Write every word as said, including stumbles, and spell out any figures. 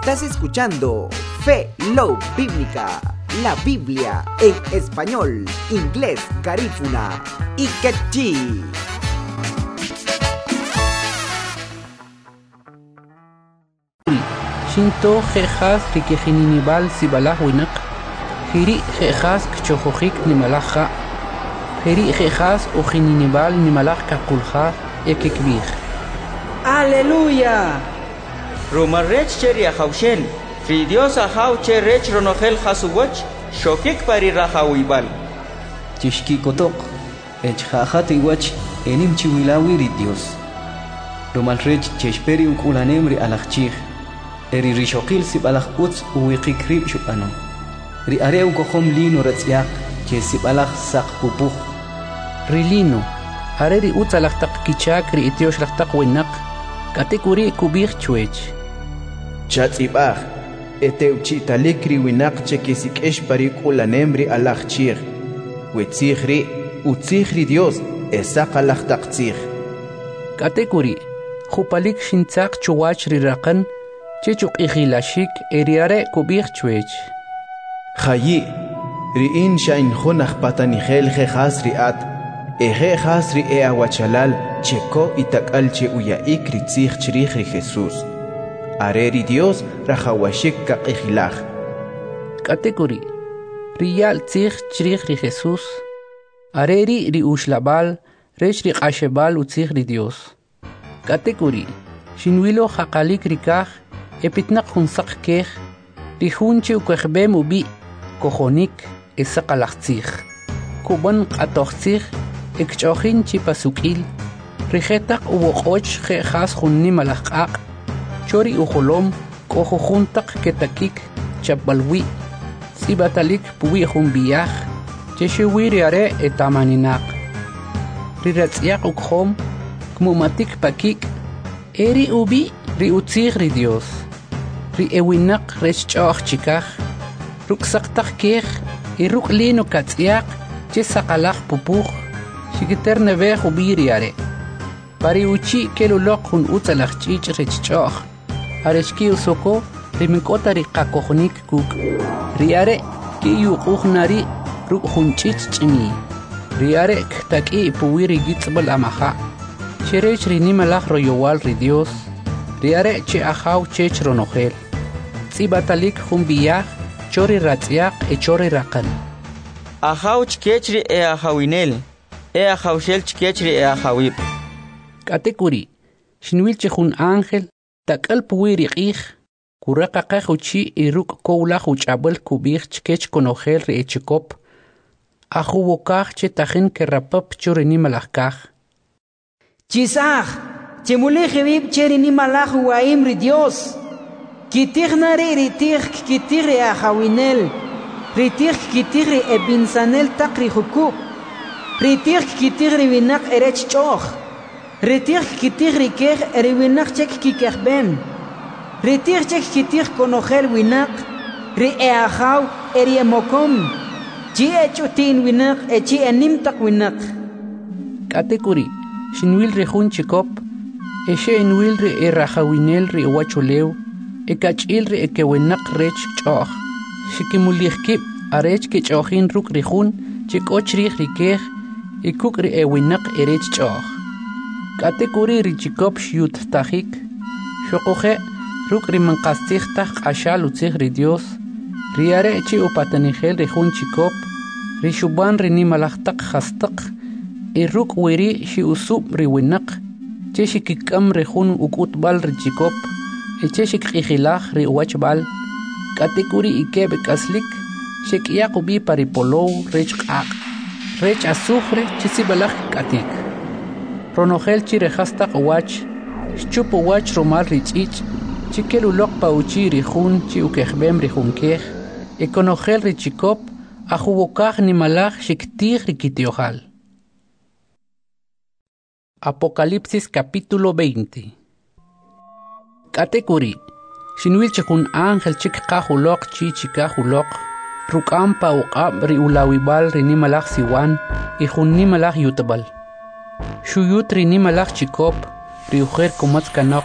Estás escuchando Fe Love Bíblica, la Biblia en español, inglés, garífuna y quechí. Xinto jejas rikijininibal sibalaj winaq, jiri jejas kchojojik nimalaj ja', jiri jejas ujininibal nimalaj kaqulja e kikb'ij. Aleluya! Rumal rech che ri Ajawxel, ri Dios Ajaw che rech ronojel jas uwach, xokik pa ri rajawib'al. Chixki'kotoq, e chja'jat iwach e nim chiwila wi ri Dios. Rumal rech chexpe ri uk'ulanem ri alaj chij, e ri rixoqil sib'alaj utz uwiqik rib' xub'ano. Ri are' ukojom lino ratz'yaq che sib'alaj saq pupuj. Ri lino, are ri utzalaj taq kichak ri ityoxlaj taq winaq, k'atek'uri' kub'ij chwech. Chatz'ib'aj, e tewchi'talik ri winaq che kisik'ix pa ri k'ulanem ri alaj chij. We tzij ri' utzij ri Dios e saqalaj taq tzij. K'atek'uri', jupalik xintzaq chuwach ri raqan chech uq'ijilaxik e ri are' kub'ij chwech. Jayi', ri in xa in jun aj patanijel je jas ri at, e je jas ri e awachalal che ko itak'al che uya'ik ri tzij chrij ri Jesús. Are ri Dios rajawaxik kaq'ijilaj. K'atek'uri', ri ya'l tzij chrij ri Jesús, are ri' ri uxlab'al rech ri q'axeb'al utzij ri Dios. K'atek'uri', xinwilo jaqalik ri kaj e pitnaq jun saq kej, ri jun che ukejb'em ub'i' kojonik e saqalaj tzij. Kub'an q'atoj tzij e kch'ojin chi pasuk'il, ri jetaq uwoq'och je jas jun nimalaj q'aq', cho ri ujolom k'o jujun taq ketakik chapb'al wi', tz'ib'atalik puwi' jun b'i'aj, che xuwi ri are' eta'maninaq. Ri ratz'yaq ukojom kmu'matik pa kik', e ri ub'i' ri utzij ri Dios. Ri e winaq rech ch'o'j chikaj, ruk' saq taq kej e ruk' lino katz'yaq che saqalaj pupuj, xikiterneb'ej ub'i ri are'. Pa ri uchi' kel uloq jun utzalaj ch'ich' rech ch'o'j, arech ki'usoko ri man k'o ta ri qakojonik kuk'. Ri are' ki'yuq'uj na ri' ruk' jun ch'ich' ch'imiy. Ri are' ktak'i' puwi' ri yitz'b'al amaja', che rech ri nimalaj royowal ri Dios, ri are' che Ajaw chech ronojel. Tz'ib'atalik jun b'i'aj cho ri ratz'yaq e cho ri raqan. Ajaw chkech ri e ajawinel, e ajawxel chkech ri e ajawib'. K'atek'uri', xinwil che jun ángel tak'al puwi' ri q'ij, kuraqaqej uchi' y ruk' kowlaj uch'ab'al kub'ij chkech konojel ri e chikop, ajuwokaj che tajin kerapap cho ri nimalaj kaj. Chisaj, chimulij iwib' che ri nimalaj uwa'im ri Dios. Kitij na ri' ri tij kkitij ri ajawinel, ri tij kkitij ri e b'insanel taq ri jukub', ri tij kkitij ri winaq e rech ch'o'j, ri tij kkitij ri kej e ri winaq che kkikejb'em, ri tij che kkitij konojel winaq, ri e ajaw e ri e mokom, chi e ch'uti'n winaq e chi e nim taq winaq. K'atek'uri', xinwil ri jun chikop, e xe'inwil ri e rajawinel ri uwachulew, e kach'il ri e kewinaq rech ch'o'j. Xikimulij kib' arech kech'o'jin ruk' ri jun che k'o chrij ri kej e kuk' ri e winaq e rech ch'o'j. K'atek'uri' ri chikop xyuttajik, xuquje' ruk' ri man qastzij taj q'axal utzij ri Dios, ri are' che upatanijel ri jun chikop, ri xub'an ri nimalaj taq jastaq, e ruk' wiri' xi'usub' ri winaq, che xikik'am ri jun uk'utb'al ri chikop, e che xikq'ijilaj ri uwachb'al. K'atek'uri' ikeb' k'aslik xek'yaq ub'i pa ri polow rech q'aq', rech azufre che sib'alaj k'atik. Ronojel chi ri jastaq uwach, xchup uwach rumal ri ch'ich' che kel uloq pa uchi' ri jun che ukejb'em ri jun kej, e konojel ri chikop ajuwokaj nimalaj xiktij ri kiti'ojal. Apocalipsis capítulo veinte. K'atek'uri', xinwil che jun ángel che kqaj uloq chi chikaj uloq, ruk'am pa uq'ab' ri ulawib'al ri nimalaj siwan y jun nimalaj yutb'al. Xuyut ri nimalaj chikop, ri ujer kumatz kanoq,